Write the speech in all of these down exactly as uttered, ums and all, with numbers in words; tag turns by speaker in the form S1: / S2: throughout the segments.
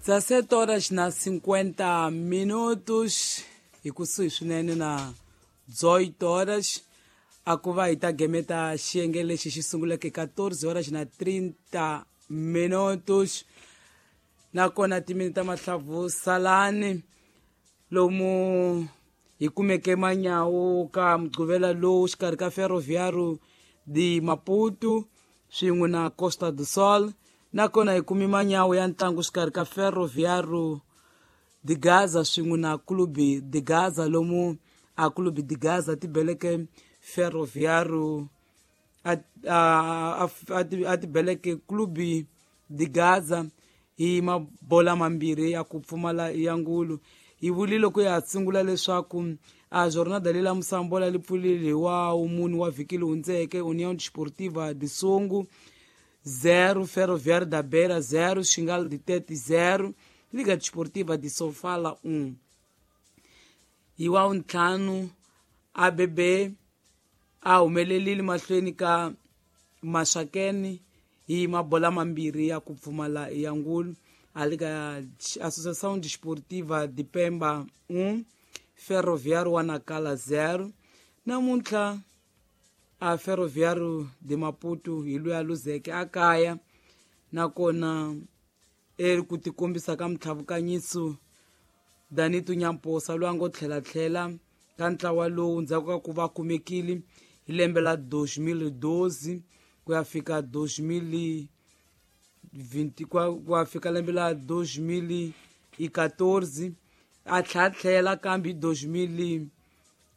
S1: dezessete horas na cinquenta minutos hi kusuhi swinene na dezoito horas a ku va hi ta gemeta xiyenge lexi xi sunguleke quatorze horas na trinta minutos nakona timini ta mahlavu salani lomu hi kumeke manyawu ka mugqivela lowu xikarhi ka Ferroviário de Maputo swin'we na Costa do Sol nakona hi kumi manyawu ya ntlangu xikarhi ka Ferroviário de Gaza swin'we na Clube de Gaza lomu a Clube de Gaza ti beleke Ferroviário a a a ti beleke Clube de Gaza hi mabola mambirhi ya ku pfumala ya ngulu. Hi vulile ku ya sungula leswaku a jornada leyi la musambola li pfulile hi wa mune wa vhiki leyi hundzeke União Desportiva de Songo zero, Ferroviário da Beira zero, Xingal de Tete zero, Liga Desportiva de Sofala um. Hi wa ntlhanu A B B a humelelile mahlweni ka Maxakeni hi mabola mambirhi ya ku pfumala ya ngulu. A Liga Associação Desportiva de Pemba um, Ferroviário wa Nacala zero. Namuntlha a Ferroviário de Maputo hi loyi a luzeke a kaya nakona eri ku tikombisa ka mitlhavukanyiso Danito Nyamposa loyi a ngo tlhelatlhela ka ntlawa lowu ndzhaku ka ku va kumekile hi lembe la dois mil e doze ku ya fika dois mil e vinte ku ya fika lembe la dois mil e quatorze a tlhatlhela kambe hi dois mil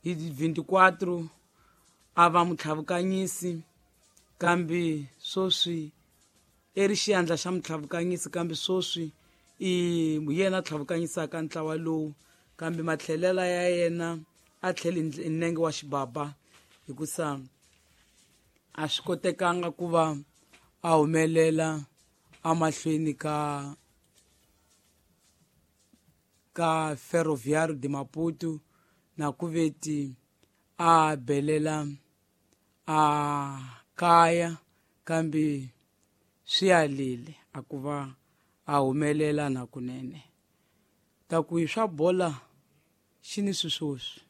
S1: e vinte e quatro a va mutlhavukanyisi kambe sweswi i ri xiandla xa mutlhavukanyisi kambe sweswi i yena tlhavukanyisaka ntlawa lowu kambe matlhelela ya yena a tlheli hi nenge wa xibaba hikusa a swi kotekanga ku va a humelela amahlweni ka ka Ferroviário de Maputo na ku veti a belela a kaya kambe swi alile a ku va a humelela na kunene ta ku hi swa bola xi ni swiswoswi.